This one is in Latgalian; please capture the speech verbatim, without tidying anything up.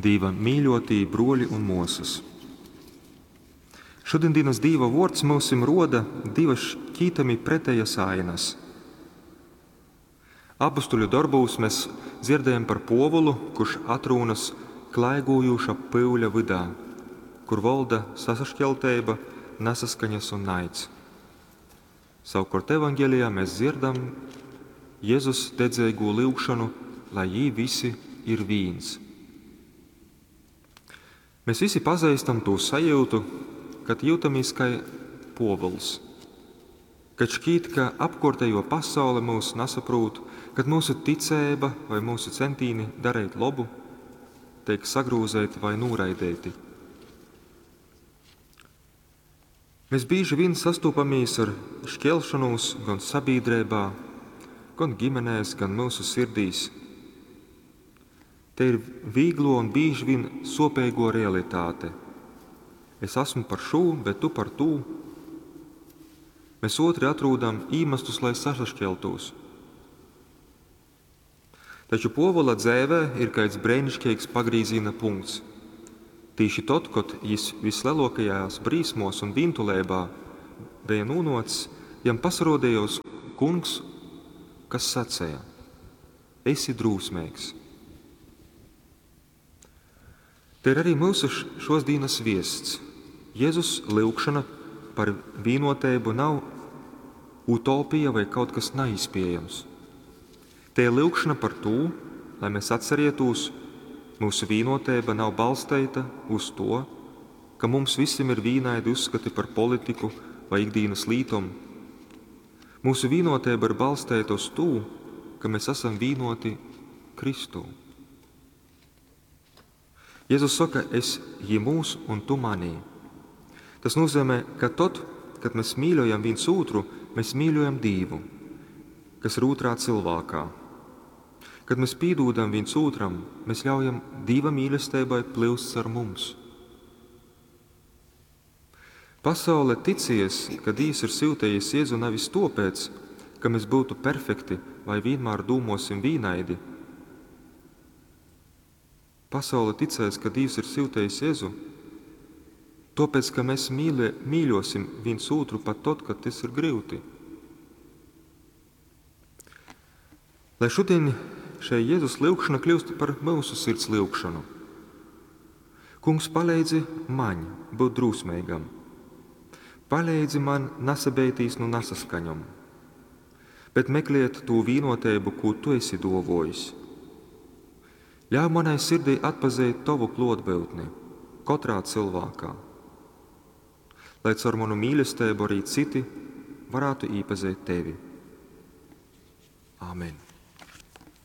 Dīva mīļotī bruoļi un muosys. Šudiņdīnys Dīva vuords myusim ruoda divys šķītami pretejas ainas. Apustuļu dorbūs mes dzierdējam par Puovulu, kurš atrūnas klaigūjuša pyuļa vydā, kur volda sasašķelteiba, nasaskaņas un naids. Savukuort Evangelijā mēs dzierdam Jezus dedzeigū lyugšonu, lai jī visi ir vīns. Mēs visi pazeistam tū sajūtu, kad jūtamies kai Puovuls. Kad šķīt, ka apkuortējo pasaule mūs nasaprūt, kad mūsu ticeiba vai mūsu centīni darīt lobu teik sagrūzeiti vai nūraideiti. Mēs bieži vien sastopamies ar šķelšanos gan sabiedrībā, gan ģimenēs, gan mūsu sirdīs. Te ir vīglo un bieži vien sopīgo realitāte. Es esmu par šo, bet tu par tū. Mēs otri atrūdam īmestus, lai sasašķeltos. Taču Povola dzēvē ir kāds brēnišķīgs pagrīziena punkts. Tīši tad, kad jis vislielākajās brīsmos un vīntulībā bija nūnots, jam pasarodījos kungs, kas sacēja: Esi drūsmīgs. Te ir arī mūsu šos dienas viests. Jēzus lūgšana par vienotību nav utopija vai kaut kas neizpējams. Te ir lūgšana par to, lai mēs atcerietos, mūsu vienotība nav balstīta uz to, ka mums visiem ir vienādi uzskati par politiku vai ikdienas lītom. Mūsu vienotība ir balstīta uz to, ka mēs esam vienoti Kristū. Jēzus saka, es jī mūs un tu manī. Tas nozīmē, ka tad, kad mēs mīļojam viens otru, mēs mīļojam Dievu, kas ir otrā cilvēkā. Kad mēs pīdūdam viens otram, mēs ļaujam Dieva mīlestībai plūst ar mums. Pasaule ticies, ka Dievs ir sūtījis Jēzu nevis topēc, ka mēs būtu perfekti vai vienmēr dūmosim vīnaidi. Pasaule ticēs, ka Dievs ir sūtījis Jēzu, tāpēc, ka mēs mīlie, mīļosim viens otru pat tad, kad tas ir grūti. Lai šodien šai Jēzus lūgšana kļūst par mūsu sirds lūgšanu. Kungs, palīdzi man būt drūsmīgam. Palīdzi man nesabeitīs no nesaskaņom, bet meklēt to vienotību, ko tu esi dovojis. Ļauj manai sirdī atpazīt tavu klotbūtni katrā cilvēkā, lai caur manu mīlestību arī citi varētu iepazīt tevi. Āmen!